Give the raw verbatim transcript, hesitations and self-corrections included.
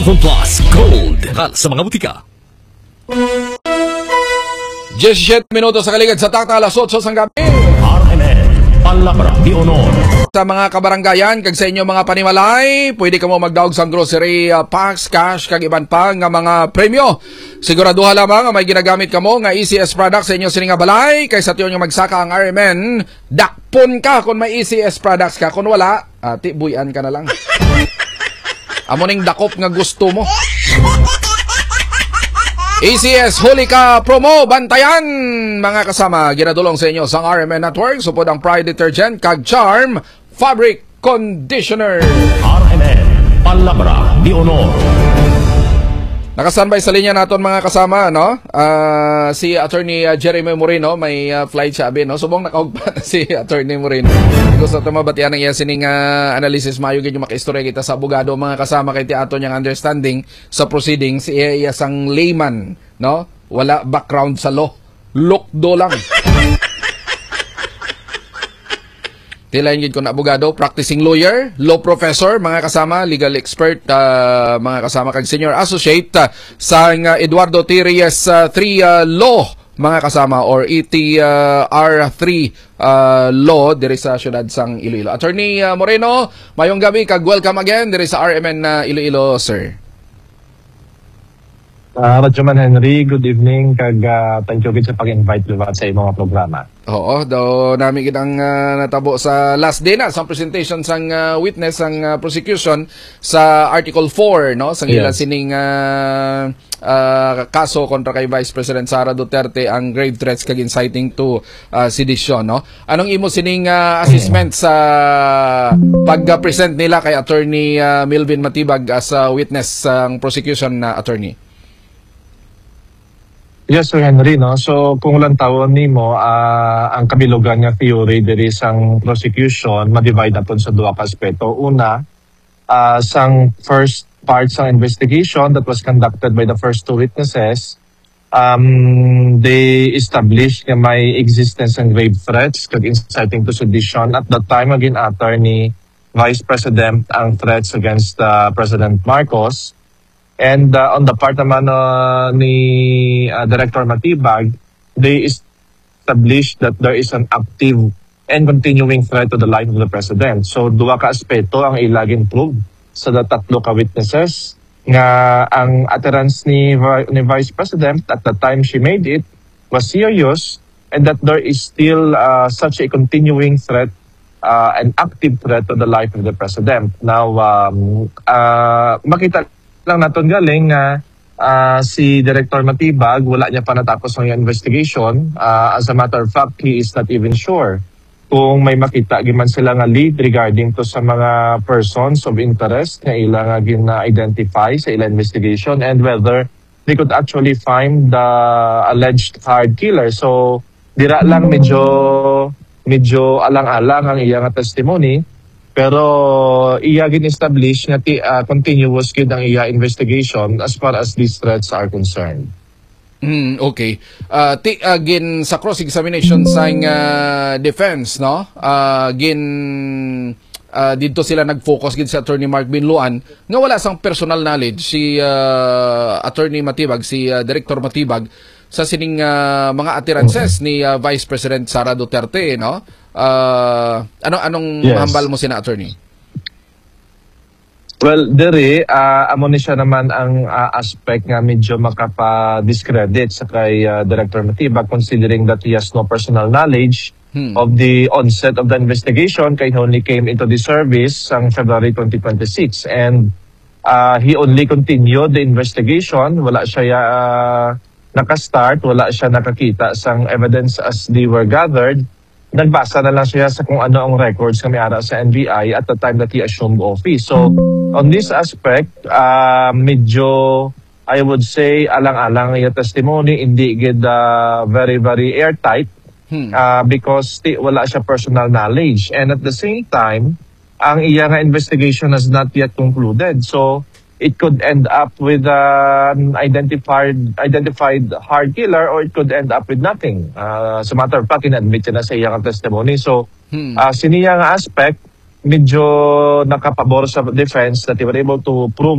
Plus Gold. Kal sa mga butika. Diyesisiete minutos sa kaligad sa takna, alas otso sang gabi. R M N, Palabra de Honor. Sa mga kabarangayan kag sa inyo mga panimalay, pwede kamo magdaog sang grocery, ah, packs, cash, kag iban pa nga mga premyo. Siguraduha lamang nga may ginagamit kamo nga E C S products sa inyo sini nga balay, kay sa tion nga magsaka ang R M N, dakpon ka kung may E C S products ka. Kung wala, ah, tibuyan ka na lang. Amo ning dakop nga gusto mo. E C S Huli Ka Promo, bantayan, mga kasama. Ginadulong sa inyo sang R M N Network, supod ang Pride Detergent kag Charm Fabric Conditioner. R M N, Palabra de Honor. Naka-standby sa linya naton, mga kasama, no? Ah, si Attorney, ah, Jeremy Moreno, may, ah, flight siya, abi, no? Subong nakahugpa na si Attorney Moreno. Gusto to mabatian ang iya sining, ah, analysis. Mayo gid yung makaistorya kita sa abogado, mga kasama, kay ti aton yang understanding sa proceedings, iya, iya sang layman, no? Wala background sa law. Lukdo lang. Tilain gid ko na abogado, practicing lawyer, law professor, mga kasama, legal expert, ah, mga kasama, kag senior associate, ah, sang, ah, Eduardo T. Reyes, ah, three, ah, Law, mga kasama, or E T R three, ah, Law, diri sa siyudad sang Iloilo. Attorney, ah, Moreno, mayong gabi, kag welcome again diri sa R M N, ah, Iloilo, sir. Ah, Radyo Man Henry, good evening, kag, ah, thank you gid sa pag-invite liwat sa imong programa. Oo, daw nami gid ang, ah, natabo sa last day na sa presentation sang, ah, witness sang, ah, prosecution sa Article four, no, sang ila Yes. sining, ah, ah, kaso kontra kay Vice President Sara Duterte, ang grave threats kag inciting to, ah, sedition, no? Anong imo sining, ah, assessment sa pag-present nila kay Attorney, ah, Melvin Matibag as a witness sang prosecution na attorney? Yes, Sir Henry, no? So, kung lantawon nimo, ah, ang kabilugan nga theory diri sang prosecution, ma-divide naton sa duha ka aspeto. Una, ah, sang first part sang investigation that was conducted by the first two witnesses, um, they established nga may existence and grave threats kag inciting to sedition at the time nga gin-utter ni Vice President ang threats against, ah, President Marcos. And, uh, on the part naman, uh, ni, uh, Director Matibag, they established that there is an active and continuing threat to the life of the president. So, duha ka aspeto ang ila gin-prove sa tatlo ka witnesses nga ang utterance ni Vi-, ni Vice President at the time she made it was serious and that there is still, uh, such a continuing threat, uh, an active threat to the life of the president. Now, um, uh, makita lang naton galing nga, ah, si Director Matibag, wala niya pa natapos ang iyang investigation. Ah, as a matter of fact, he is not even sure kung may makita giman sila nga lead regarding to sa mga persons of interest nga ila nga gina-identify sa ila investigation and whether they could actually find the alleged hired killer. So, dira lang medyo, medyo alang-alang ang iya nga testimony, pero iya gin-establish nga ti-, ah, continuous gid ang iya investigation as far as these threats are concerned. Mm, okay. Ah, ti, ah, gin sa cross-examination sang, ah, defense, no? Ah, gin, ah, didto sila nag-focus gid sa Attorney Mark Binloan nga wala sang personal knowledge si, ah, Attorney Matibag, si, ah, Director Matibag sa sining, ah, mga utterances ni, ah, Vice President Sara Duterte, no? Ah, ano, anong Yes. mahambal mo sina, Attorney? Well, diri, ah, amo ni siya naman ang, ah, aspect nga medyo makapa-discredit sa kay, ah, Director Matibag, considering that he has no personal knowledge Hmm. of the onset of the investigation, kay he only came into the service sang February twenty twenty-six. And, ah, he only continued the investigation. Wala siya, ah, naka-start, wala siya nakakita sang evidence as they were gathered. Nagbasa na lang siya sa kung ano ang records nga may ara sa N B I at the time that he assumed office. So, on this aspect, ah, medyo, I would say, alang-alang ang iya testimony, hindi gid, ah, very, very airtight, Hmm. ah, because ti-, wala siya personal knowledge. And at the same time, ang iya nga investigation has not yet concluded. So, it could end up with an identified, identified hard killer or it could end up with nothing. Ah, as a matter of fact, in-admit niya na sa iya nga testimony. So, Hmm. ah, sini nga aspect, medyo nakapabor sa defense that they were able to prove